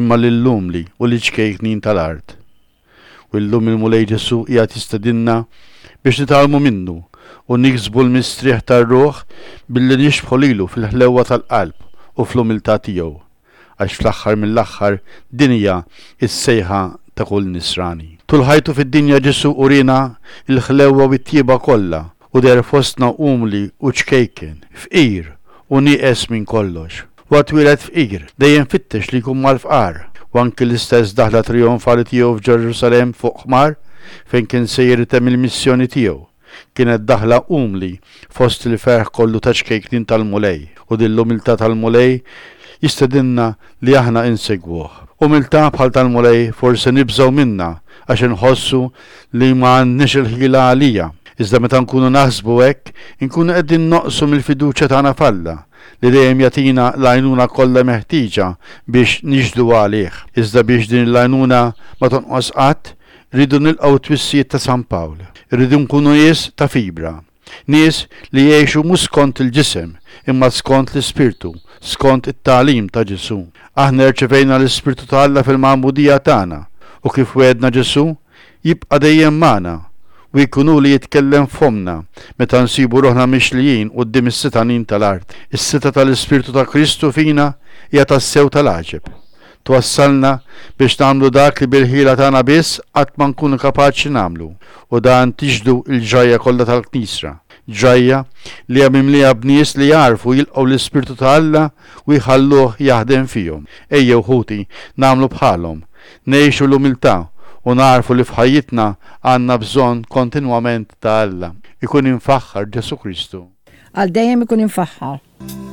imma lill-umli u liċ-ċkejknin tal-art. U llum il-Mulej Ġesù qiegħed jistedinna biex nitgħallmu minnu u niksbu l-mistrieħ tar-ruħ billi nixbħu lilu fil-ħlewwa tal-qalb u fl-umiltà tiegħu, għax fl-aħħar mill-aħħar din hija s-sejħa ta' kull Nisrani. Tul ħajtu fid-dinja Ġesù uriena l-ħlewwa u t-tjieba kollha u deher fostna umli u ċkejken, fqir u nieqes minn kollox. Huwa twieled fqir, dejjem fittex li jkun mal-fqar, u anki l-istess daħla trijonfali tiegħu f'Ġerusalemm fuq ħmar, fejn kien sejjer itemm il-missjoni tiegħu, kienet daħla umli fost il-ferħ kollu ta' ċkejknin tal-Mulej. U din l-umiltà tal-Mulej jistedinna li aħna insegwuh. Umiltà bħal tal-Mulej forsi nibżgħu minnha għax inħossu li ma għandniex il-ħila għaliha. Iżda meta nkunu naħsbu hekk, inkunu qegħdin noqsu mill-fiduċja tagħna f'Alla, li dejjem jagħtina l-għajnuna kollha meħtieġa biex nixhdu għalih. Iżda biex din l-għajnuna ma tonqos qatt, irridu nilqgħu t-twissijiet ta' San Pawl. Irridu nkunu nies ta' fibra. Nies li jgħixu mhux skont il-ġisem, imma skont l-Ispirtu, skont it-tagħlim ta' Ġesù. Aħna rċevejna l-Ispirtu ta' Alla fil-magħmudija tagħna, u kif wegħedna Ġesù, jibqa' dejjem magħna, u jkun hu li jitkellem f'fommna meta nsibu ruħna mixlijin quddiem is-setgħanin tal-art. Is-setgħa tal-Ispirtu ta' Kristu fina hija tassew tal-għaġeb. Twassalna biex nagħmlu dak li bil-ħila tagħna biss qatt ma nkunu kapaċi nagħmlu, u dan tixhdu l-ġrajja kollha tal-Knisra, ġrajja li hija mimlija b'nies li jagħrfu jilqgħu l-Ispirtu ta' Alla u jħalluh jaħdem fihom. Ejjew, ħuti, nagħmlu bħalhom, ngħixu l-umiltà u nagħrfu li f'ħajjitna għandna bżonn kontinwament ta' Alla. Ikun imfaħħar Ġesù Kristu. Għal dejjem ikun imfaħħar.